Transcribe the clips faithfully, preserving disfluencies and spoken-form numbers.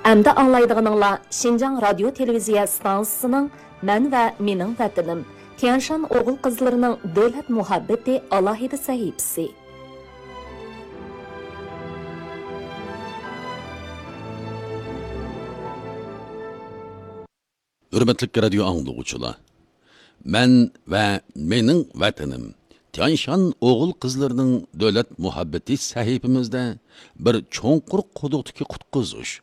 ئەمدى ئاڭلايدىغىنىڭلار شىنجاڭ رادىيو تېلېۋىزىيە ئىستانسىسىنىڭ مەن ۋە مېنىڭ ۋەتىنىم، تيەنشان ئوغۇل قىزلىرىنىڭ دۆلەت مۇھەببىتى ئالاھىدە سەھىپىسى. ھۆرمەتلىك رادىيو ئاڭلىغۇچىلار! مەن ۋە مېنىڭ ۋەتىنىم، تيەنشان ئوغۇل قىزلىرىنىڭ دۆلەت مۇھەببىتى سەھىپىمىزدە بىر چوڭقۇر قۇدۇقتىكى قۇتقۇزۇش،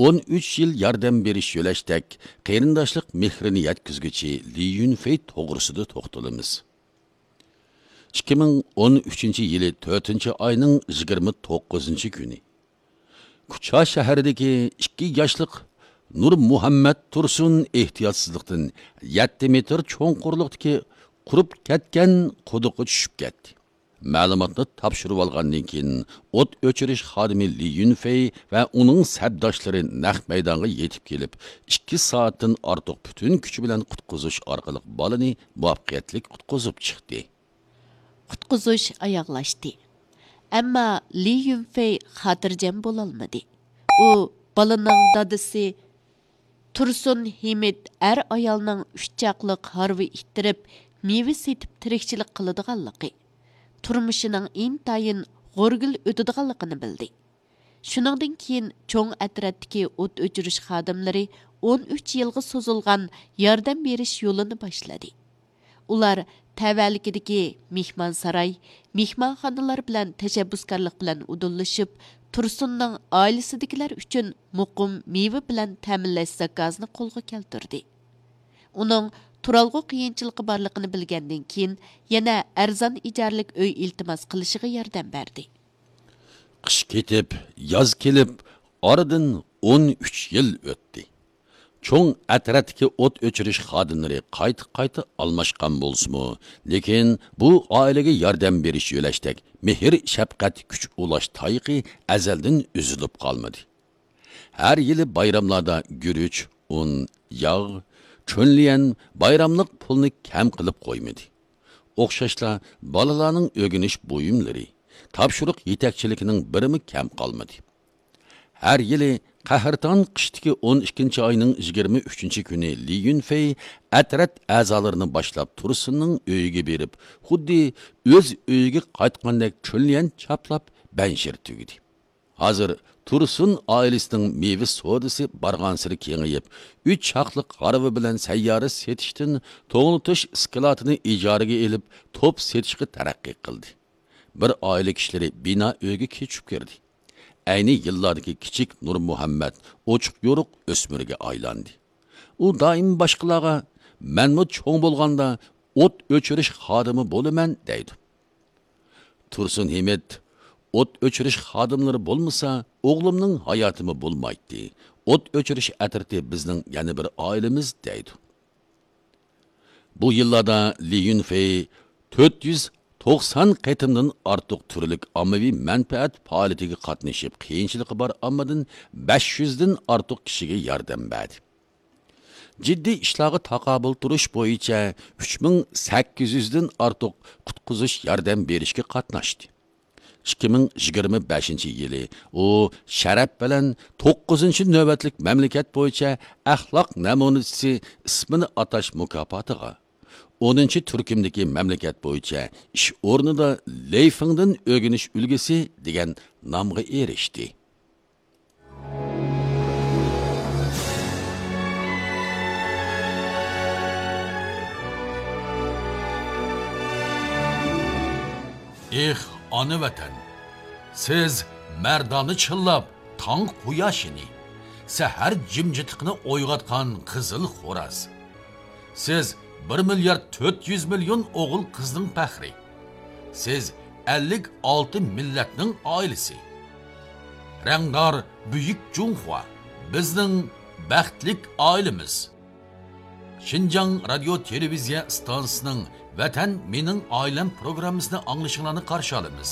ئون ئۈچ يىل ياردەم بېرىش يۆلەشتەك قېرىنداشلىق مېھرىنى يەتكۈزگۈچى لى يۈنفېي توغرىسىدا توختىلىمىز. ئىككى مىڭ ئون ئۈچىنچى يىلى تۆتىنچى ئاينىڭ يىگىرمە توققۇزىنچى كۈنى، كۇچا شەھىرىدىكى ئىككى ياشلىق نۇرمۇھەممەت تۇرسۇن ئېھتىياتسىزلىقتىن يەتتە مېتىر چوڭقۇرلۇقتىكى قۇرۇپ كەتكەن قۇدۇققا چۈشۈپ كەتتى. مەلۇماتنى تاپشۇرۇۋالغاندىن كېيىن، ئوت ئۆچۈرۈش خادىمى لى يۈنفېي ۋە ئۇنىڭ سەپداشلىرى نەق مەيدانغا يېتىپ كېلىپ، ئىككى سائەتتىن ئارتۇق پۈتۈن كۈچى بىلەن قۇتقۇزۇش ئارقىلىق بالىنى مۇۋەپپەقىيەتلىك قۇتقۇزۇپ چىقتى. قۇتقۇزۇش ئاياغلاشتى. ئەمما لى يۈنفېي خاتىرجەم بولالمىدى. ئۇ بالىنىڭ دادىسى تۇرسۇن ھىمىت ئەر-ئايالنىڭ ئۈچ چاقلىق ھارۋا ئىتتىرىپ، مېۋە سېتىپ تىرىكچىلىك قىلىدىغانلىقى، تۇرمۇشىنىڭ ئىنتايىن غورىگىل ئۆتىدىغانلىقىنى بىلدى. شۇنىڭدىن كېيىن چوڭ ئەترەتتىكى ئوت ئۆچۈرۈش خادىملىرى ئون ئۈچ يىلغا سوزۇلغان ياردەم بېرىش يولىنى باشلىدى. ئۇلار تەۋەلىكىدىكى مېھمانساراي، مېھمانخانىلار بىلەن تەشەببۇسكارلىق بىلەن ئۇدۇللىشىپ، تۇرسۇننىڭ ئائىلىسىدىكىلەر ئۈچۈن مۇقىم مېۋە بىلەن تەمىنلەش زاكازىنى قولغا كەلتۈردى. ئۇنىڭ تۇرالغۇ قىيىنچىلىقى بارلىقىنى بىلگەندىن كېيىن، يەنە ئەرزان ئىجارىلىك ئۆي ئىلتىماس قىلىشىغا ياردەم بەردى. قىش كېتىپ، ياز كېلىپ، ئارىدىن ئون ئۈچ يىل ئۆتتى. چوڭ ئەترەتتىكى ئوت ئۆچۈرۈش خادىملىرى قايتا-قايتا ئالماشقان بولسىمۇ، لېكىن بۇ ئائىلىگە ياردەم بېرىش يۆلەشتەك مېھىر-شەپقەت، كۈچ ئۇلاش تايىقى ئەزەلدىن ئۈزۈلۈپ قالمىدى. ھەر يىلى بايراملاردا گۈرۈچ، ئۇن، ياغ، چۈنليەن، بايراملىق پۇلنى كەم قىلىپ قويمىدى. ئوخشاشلا بالىلارنىڭ ئۆگىنىش بۇيۇملىرى، تاپشۇرۇق يېتەكچىلىكىنىڭ بىرىمۇ كەم قالمىدى. ھەر يىلى قەھرىتان قىشتىكى ئون ئىككىنچى ئاينىڭ يىگىرمە ئۈچىنچى كۈنى لى يۈنفېي ئەترەت ئەزالىرىنى باشلاپ تۇرسۇننىڭ ئۆيىگە بېرىپ، خۇددى ئۆز ئۆيىگە قايتقاندەك چۈنليەن چاپلاپ بەنشىر تۈگىدى. ھازىر تۇرسۇن ئائىلىسىنىڭ مېۋە سودىسى بارغانسېرى كېڭىيىپ، ئۈچ چاقلىق ھارۋا بىلەن سەييارە سېتىشتىن توڭلىتىش ئىسكىلاتىنى ئىجارىگە ئېلىپ، توپ سېتىشقا تەرەققىي قىلدى. بىر ئائىلە كىشىلىرى بىنا ئۆيگە كۆچۈپ كىردى. ئەينى يىللاردىكى كىچىك نۇرمۇھەممەت ئوچۇق-يورۇق ئۆسمۈرگە ئايلاندى. ئۇ دائىم باشقىلارغا، «مەنمۇ چوڭ بولغاندا ئوت ئۆچۈرۈش خادىمى بولىمەن» دەيدۇ. تۇرسۇن ھىمىت، «ئوت ئۆچۈرۈش خادىملىرى بولمىسا، ئوغلۇمنىڭ ھاياتىمۇ بولمايتتى. ئوت ئۆچۈرۈش ئەترىتى بىزنىڭ يەنە بىر ئائىلىمىز» دەيدۇ. بۇ يىللاردا لى يۈنفېي تۆت يۈز توقسان قېتىمدىن ئارتۇق تۈرلۈك ئاممىۋى مەنپەئەت پائالىيىتىگە قاتنىشىپ، قىيىنچىلىقى بار ئاممىدىن بەش يۈزدىن ئارتۇق كىشىگە ياردەم بەردى. جىددىي ئىشلارغا تاقابىل تۇرۇش بويىچە ئۈچ مىڭ سەككىز يۈزدىن ئارتۇق قۇتقۇزۇش ياردەم بېرىشكە قاتناشتى. ئىككى مىڭ يىگىرمە بەشىنچى يىلى ئۇ شەرەپ بىلەن توققۇزىنچى نۆۋەتلىك مەملىكەت بويىچە ئەخلاق نەمۇنىچىسى ئىسمىنى ئاتاش مۇكاپاتىغا، ئونىنچى تۈركۈمدىكى مەملىكەت بويىچە ئىش ئورنىدا لېيفىڭدىن ئۆگىنىش ئۈلگىسى دېگەن نامغا ئېرىشتى. ئېھ، ئانا ۋەتەن! سىز مەردانە چىللاپ تاڭ قۇياشىنى، سەھەر جىمجىتلىقىنى ئويغاتقان قىزىل خوراز. سىز بىر مىليارد تۆت يۈز مىليون ئوغۇل قىزنىڭ پەخرى. سىز ئەللىك ئالتە مىللەتنىڭ ئائىلىسى. رەڭدار بۈيۈك جۇڭخۇا، بىزنىڭ بەختلىك ئائىلىمىز. شىنجاڭ رادىيو تېلېۋىزىيە ئىستانسىسىنىڭ ۋەتەن مېنىڭ ئائىلەم پروگراممىسىنى ئاڭلىشىڭلارنى قارشى ئالىمىز.